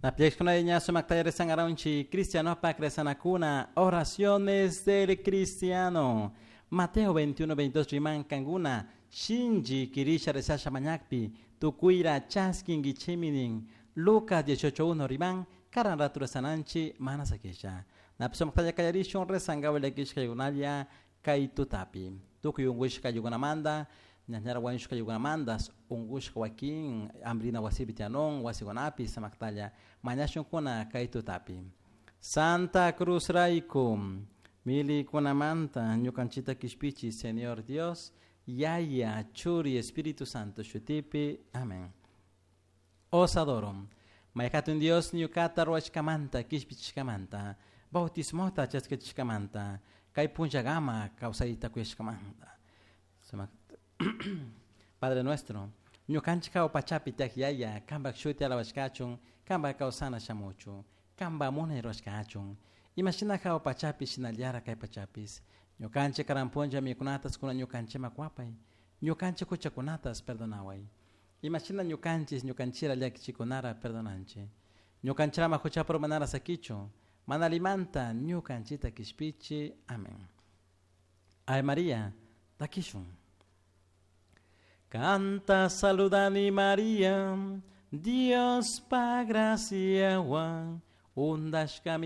Napiashkuna sumakta rezangaronchi cristianopak rezanakuna oraciones del cristiano. Mateo 21, 22 riman kanguna shinji kirisha rezasha mañakpi tukuira chaskingichiminin. Lucas 18, 1 riman karan ratu rezananchi mana sakisha. Napisumaktaya kallarishun rezangawilakishkaykunalla kay tutapi. Tukuy unkushka yukunamanta ñañara wañushka yukunamantas unkushka wakin hambrina wasipi tiyanun wasikunapi samaktalla mañashunkuna kay tutapi. Santa Cruz rayku milikunamanta ñukanchita kishpichi Señor Dios Yaya Churi Espíritu Santo shutipi. Amén. Os adoro. Mayhatun Dios ñukata ruwashkamanta kishpichishkamanta bautismota chaskachishkamanta kay punllagama kawsayta kuyashkamanta. Padre nuestro, ñukanchik hawa pachapi tiyak yaya, kanpak shuti alabashkachun, kanpak kawsana shamuchun, kanpak munay rurashkachun. Imashina hawa pachapi shinallara kay pachapis. Ñukanchik karan punlla mikunatas kuna ñukanchikman kuwapay, ñukanchik huchakunatas perdonaway. Imashina ñukanchis ñukanchira llakichikunara perdonanchik. Ñukanchirama huchapura manara sakichun, mana allimanta ñukanchita kishpichi. Amén. Ave María, takishun. Canta saludani María, Dios pa graciawan, undashkami.